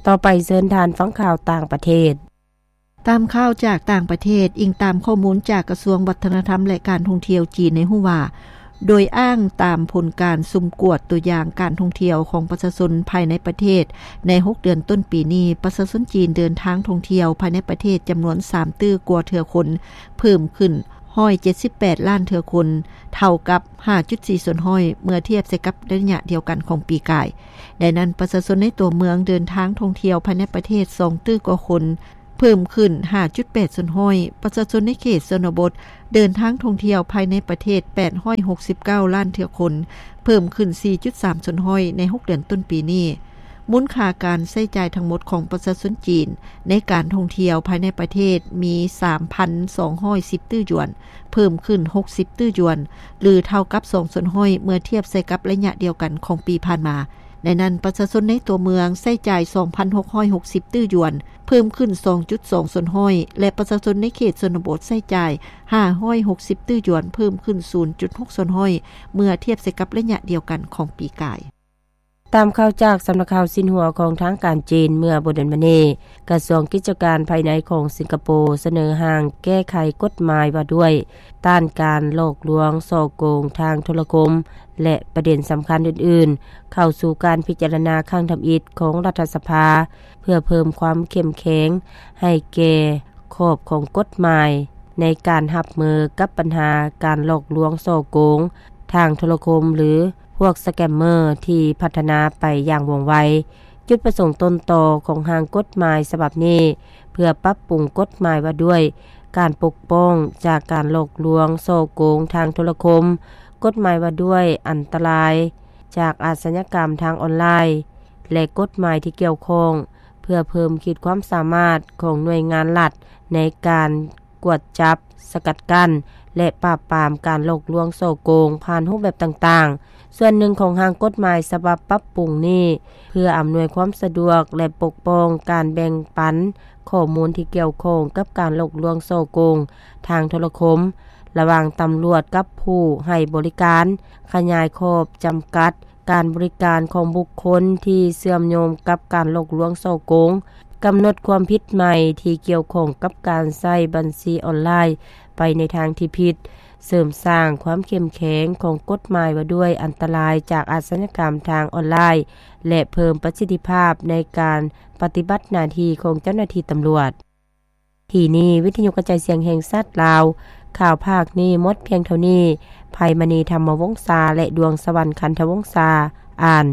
ຕໍ່ໄປເຊີນທ່ານຟັງຂ່າວຕ່າງປະເທດ. ຕາມຂ່າວຈາກຕ່າງປະເທດ, ອີງຕາມຂໍ້ມູນຈາກກະຊວງວັດທະນະທຳ ແລະ ການທ່ອງທ່ຽວຈີນໃຫ້ຮູ້ວ່າ, ໂດຍອ້າງຕາມຜົນການສຸ່ມກວດຕົວຢ່າງການທ່ອງທ່ຽວຂອງປະຊາຊົນພາຍໃນປະເທດ ໃນຫົກເດືອນຕົ້ນປີນີ້, ປະຊາຊົນຈີນເດີນທາງທ່ອງທ່ຽວພາຍໃນປະເທດຈຳນວນສາມຕື້ກວ່າເທື່ອຄົນ, ເພີ່ມຂຶ້ນຮ້ອຍເຈັດສິບແປດລ້ານເທື່ອຄົນ, ເທົ່າກັບຫ້າຈຸດສີ່ສ່ວນຮ້ອຍ ເມື່ອທຽບໃສ່ກັບໄລຍະດຽວກັນຂອງປີກາຍ. ໃນນັ້ນ, ປະຊາຊົນໃນຕົວເມືອງເດີນທາງທ່ອງທ່ຽວພາຍໃນປະເທດສອງຕື້ກວ່າຄົນ, ເພີ່ມຂຶ້ນຫ້າຈຸດແປດສ່ວນຮ້ອຍ, ປະຊາຊົນໃນເຂດຊົນນະບົດເດີນທາງທ່ອງທ່ຽວພາຍໃນປະເທດແປດຮ້ອຍຫົກສິບເກົ້າລ້ານເທື່ອຄົນ, ເພີ່ມຂຶ້ນສີ່ຈຸດສາມສ່ວນຮ້ອຍໃນຫົກເດືອນຕົ້ນປີນີ້. ມູນຄ່າການໃຊ້ຈ່າຍທັງໝົດຂອງປະຊາຊົນຈີນໃນການທ່ອງທ່ຽວພາຍໃນປະເທດມີສາມພັນສອງຮ້ອຍສິບຕື້ຢວນ, ເພີ່ມຂຶ້ນຫົກສິບຕື້ຢວນ ຫຼື ເທົ່າກັບສອງສ່ວນຮ້ອຍ ເມື່ອທຽບໃສ່ກັບໄລຍະດຽວກັນຂອງປີຜ່ານມາ. ໃນນັ້ນ, ປະຊາຊົນໃນຕົວເມືອງໃຊ້ຈ່າຍສອງພັນຫົກຮ້ອຍຫົກສິບຕື້ຢວນ, ເພີ່ມຂຶ້ນສອງຈຸດສອງສ່ວນຮ້ອຍ ແລະ ປະຊາຊົນໃນເຂດຊົນນະບົດໃຊ້ຈ່າຍຫ້າຮ້ອຍຫົກສິບຕື້ຢວນ, ເພີ່ມຂຶ້ນສູນຈຸດຫົກສ່ວນຮ້ອຍ ເມື່ອທຽບໃສ່ກັບໄລຍະດຽວກັນຂອງປີກາຍ. ຕາມຂ່າວຈາກສຳນັກຂ່າວຊິນຫົວຂອງທາງການຈີນ, ເມື່ອບໍ່ດົນມານີ້, ກະຊວງກິດຈະການພາຍໃນຂອງສິງກະໂປສະເໜີຮ່າງແກ້ໄຂກົດໝາຍວ່າດ້ວຍ ຕ້ານການຫຼອກລວງສໍ້ໂກງທາງໂທລະຄົມ ແລະ ປະເດັນສຳຄັນອື່ນໆ ເຂົ້າສູ່ການພິຈາລະນາຄັ້ງທຳອິດຂອງລັດຖະສະພາ ເພື່ອເພີ່ມຄວາມເຂັ້ມແຂງໃຫ້ແກ່ຂອບຂອງກົດໝາຍ ໃນການຮັບມືກັບບັນຫາການຫຼອກລວງສໍ້ໂກງທາງໂທລະຄົມ ຫຼື ພວກສະແກມເມີ ທີ່ພັດທະນາໄປຢ່າງວ່ອງໄວ. ຈຸດປະສົງຕົ້ນຕໍຂອງຮ່າງກົດໝາຍສະບັບນີ້ ເພື່ອປັບປຸງກົດໝາຍວ່າດ້ວຍການປົກປ້ອງຈາກການຫຼອກລວງສໍ້ໂກງທາງໂທລະຄົມ, ກົດໝາຍວ່າດ້ວຍອັນຕະລາຍຈາກອາຊະຍາກຳທາງອອນລາຍ ແລະ ກົດໝາຍທີ່ກ່ຽວຂ້ອງ ເພື່ອເພີ່ມຂີດຄວາມສາມາດຂອງໜ່ວຍງານລັດໃນການກວດຈັບ, ສະກັດກັ້ນ ແລະ ປາບປາມການຫຼອກລວງສໍ້ໂກງຜ່ານຮູບແບບຕ່າງໆ. ສ່ວນໜຶ່ງຂອງຮ່າງກົດໝາຍສະບັບປັບປຸງນີ້ ເພື່ອອຳນວຍຄວາມສະດວກ ແລະ ປົກປ້ອງການແບ່ງປັນຂໍ້ມູນທີ່ກ່ຽວຂ້ອງກັບການຫຼອກລວງສໍ້ໂກງທາງໂທລະຄົມ ລະຫວ່າງຕຳຫຼວດກັບຜູ້ໃຫ້ບໍລິການ, ຂະຫຍາຍຂອບຈຳກັດ ການບໍລິການຂອງບຸກຄົນທີ່ເຊື່ອມໂຍງກັບການຫຼອກລວງສໍ້ໂກງ, ກຳນົດຄວາມຜິດໃໝ່ທີ່ກ່ຽວຂ້ອງກັບການໃຊ້ບັນຊີອອນລາຍໄປໃນທາງທີ່ຜິດ, ເສີມສ້າງຄວາມເຂັ້ມແຂງຂອງກົດໝາຍວ່າດ້ວຍອັນຕະລາຍຈາກອາຊະຍາກຳທາງອອນລາຍ ແລະ ເພີ່ມປະສິດທິພາບໃນການປະຕິບັດໜ້າທີ່ຂອງເຈົ້າໜ້າທີ່ຕຳຫຼວດ. ທີ່ນີ້ ວິທະຍຸກະຈາຍສຽງແຫ່ງຊາດລາວ, ຂ່າວພາກນີ້ໝົດພຽງເທົ່ານີ້. ໄພມະນີ ທຳມະວົງສາ ແລະ ດວງສະຫວັນ ຄັນທະວົງສາ ອ່ານ.